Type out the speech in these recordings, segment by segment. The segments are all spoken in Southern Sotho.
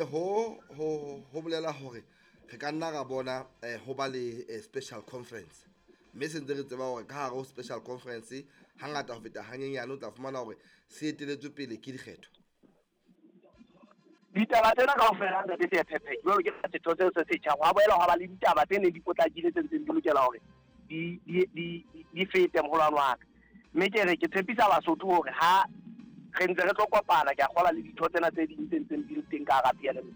Ho bolela hore re ka nna ra bona ho ba le special conference, mme se ntse re tseba hore ka hare ho special conference hangata ho feta hanyenyane o tla fumana hore se eteletswe pele ke dikgetho. Ditaba tsena kaofela, ntate Seephephe, jwalo ke setho seo se setjha, hwa boela hwa ba le ditaba tse neng di potlakile tse ntseng di lokela hore di fete, moholwane wa ka. Mme ke re ke tshepisa Basotho hore ha re ntse re tlo kopana, ke a kgola le ditho tsena tse ding tse ntseng di le teng ka hara PLMC,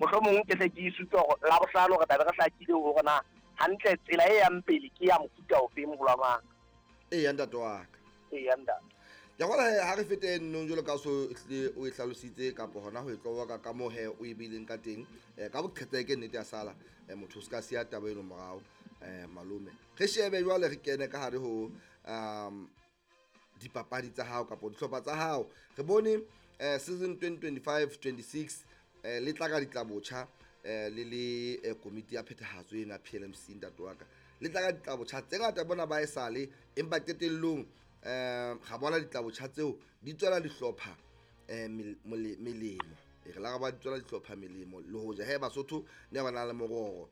mohlomong ke hle ke isupe hore Labohlano re tlabe re hlakile hore na hantle tsela e yang pele ke ya mofuta ofeng, moholwane wa ka. Eya, ntate wa ka. Eya, ntate. Ke gola he ha re fete nnong jwalo ka so hlile o e hlalositse kapa hona ho e tloboka ka moo he o e beileng ka teng, ka boqhetseke nnete ya sala, motho o se ka siya taba eno morao, malome. Re shebe jwale, re kene ka hare ho dipapadi tsa hao kapa dihlopha tsa hao. Re bone season 2025-26 le tla ka ditlabotjha, le le komiti ya phethahatso ena PLMC, ntate wa ka, le tla ka ditlabotjha tse ngata bona ba e sale, empa qetellong ga bona ditlabotjha tseo di tswela dihlopha melemo. E re la ga ba di tswela dihlopha melemo, le hoja he Basotho ne ba na le mororo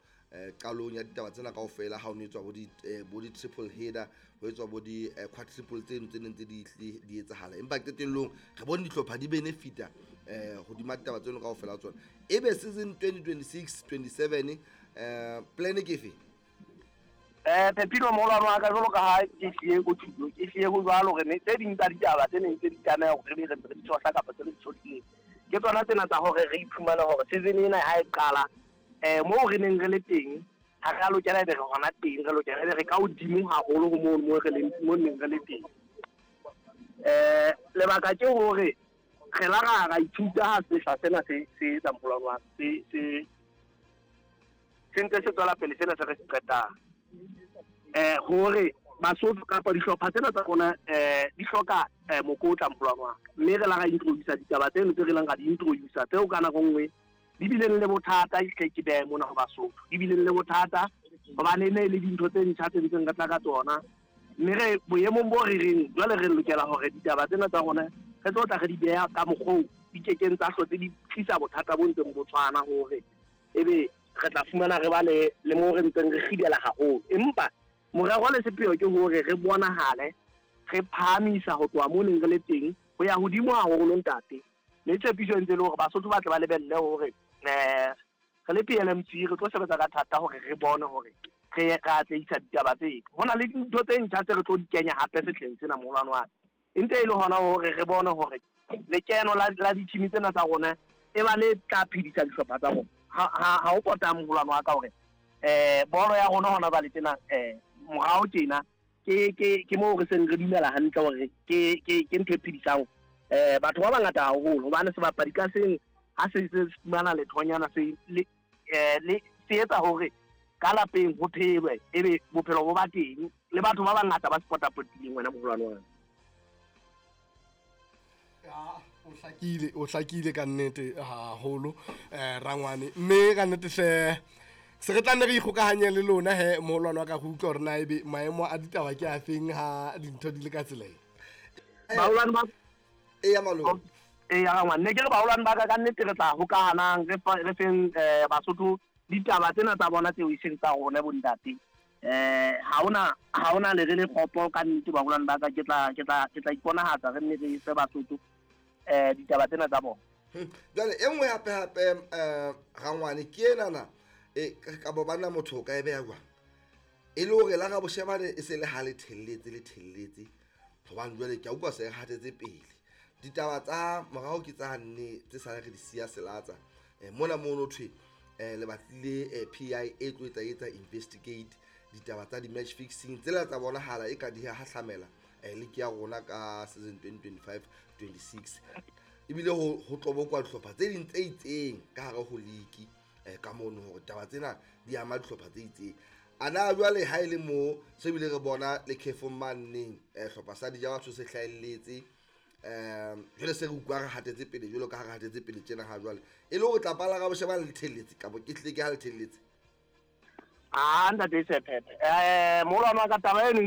qalong ya ditaba tsena kaofela, ha o ne etswa bo di triple header, ho etswa bo di quadruple tseno tse neng tse di etsahala, empa qetellong re bone dihlopha di benefita hodima ditaba tseno kaofela tsona. Ebe season 2026 27 plan ke efe? Phephilo, moholwane wa ka, jwalo ka ha ke hlile ko thuto, ke hlile ho jwalo hore ne tse ding tsa ditaba tse neng tse di tlameha hore re be re ntse re di tshohla kapa tse re di tshohlileng ke tsona tsena tsa hore re iphumane hore season ena ha e qala, moo re neng re le teng ha re a lokela ebe re hona teng, re lokela ebe re ka hodimo haholo ho mono mo re leng, mo neng re le teng. Lebaka ke hore re la ra ithuta ha sehla sena se etsa, moholwane wa ka, se ntse se tswela pele sena se re se qetang, hore Basotho kapa dihlopha tsena tsa rona di hloka mokotla, moholwane wa ka. Mme re la ra introduce ditaba tseno tse re leng ra di introduce tseo ka nako nngwe di bileng le bothata, hle ke behe mona ho Basotho, di bileng le bothata hobane e ne e le dintho tse ntjha tse ntseng re tla ka tsona. Mme re boemong bo re reng jwale re lokela hore ditaba tsena tsa rona re tlo tla re di beha ka mokgoo di kekeng tsa hlotse di tlisa bothata bo ntseng bo tshwana, hore ebe re tla fumana re ba le mo re ntseng re kgidela haholo. Empa morero le sepheo ke hore re bonahale re phahamisa ho tloha mo neng re le teng ho ya hodimo haholo, ntate. Mme tshepiso e ntse e le hore Basotho ba tle ba lebelle hore re le PLMC re tlo sebetsa ka thata hore re bone hore re atlehisa ditaba tse. Ho na le dintho tse ntjha tse re tlo di kenya hape sehleng sena, moholwane wa ka. E ntse e le hona hore re bone hore lekeno la di-team tsena tsa rona e ba le tla phedisa dihlopha tsa rona. Ha ho potang, moholwane wa ka, hore bolo ya rona hona jwale tjena, morao tjena ke moo re seng re dumela hantle hore ke ntho e phedisang batho ba bangata haholo, hobane sebapadi ka seng ha se fumana lethonyana se le le se etsa hore ka lapeng ho phelwe, ebe bophelo bo ba teng le batho ba bangata ba se potapotileng, wena moholwane wa ka. Ya, o hlakile ka nnete haholo, rangwane. Mme ka nnete hle se re tla nne re ikgokahanye le lona he, moholwane wa ka, go utlwa hore na ebe maemo a ditaba ke a feng ha dintho di le ka tsela e. Baholwane ba Eya, malome. Eya, rangwane, ne ke re baholwane ba ka, ka nnete re tla hokahanang re feng Basotho ditaba tsena tsa bona tseo e seng tsa rona bontate. Ha hona le re le kgopo ka nnete, baholwane ba ka, ke tla iponahatsa re nne re fe Basotho ditaba tsena tsa bona. Jwale e nngwe hape hape, rangwane, ke enana e ka bo bana motho o ka e beha jwang e le hore la ga boshebane e se le ha le thelletse, le thelletse, hobane jwale ke a utlwa se re hatetse pele ditaba tsa morao ke tsa nne tse sale re di siya selatsa mona mono thwe le batlile PIA e tlo etsa investigate ditaba tsa di-match fixing tsela tsa bonahala e ka di hahlamela league ya rona ka season 2025 26, ebile ho tlobokwa dihlopha tse ding tse itseng ka hare ho league ka mono, hore taba tsena di ama dihlopha tse itseng. A na jwale ha e le mo se bile re bona lekhefong manneng, hlopha sa dija batho se hlahelletse, jwale se re utlwa re hatetse pele jwalo ka ha re hatetse pele tjena ha jwale e le hore tlapa la ga bosheba le thelletse kapa ke hlile ke ha le thelletse? Ah, ntate Sephephe, moholwane wa ka, taba eno.